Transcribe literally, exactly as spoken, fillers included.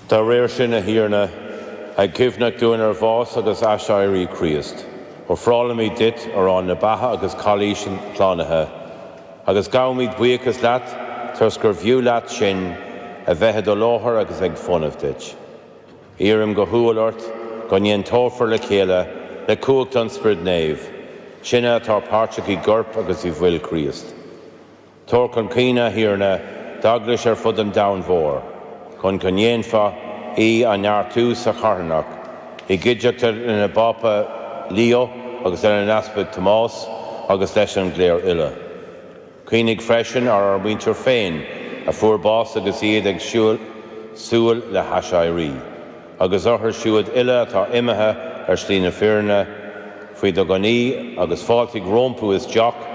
Dá réir sin a Thiarna, ag cuimhneamh dúinn ar bhás agus aiséirí Chríost, ofrálaimid duit arán na beatha agus cailís an tslánaithe, agus gabhaimid buíochas leat toisc gur bhfiú leat sinn a bheith i do láthair agus ag fónamh duit. Iarraim go humhal ort go n-aontófar le chéile le cumhacht an Spioraid Naoimh, sinne atá páirteach i gcorp agus i bhfuil Chríost. Tabhair chun cuimhne a Thiarna d'eaglais ar fud an domhain mhóir, chun go ndéanfá í a neartú sa charthanacht, i gcuideachta lena bPápa Leo agus lena nEaspag Tomás agus leis an gcléir uile. Cuimhnigh freisin ar ár muintir féin a fuair bás agus iad ag siúl súil le haiséirí, agus orthu siúd uile atá imithe ar shlí na fírinne, faoi do ghnaoi agus fáiltigh rompu isteach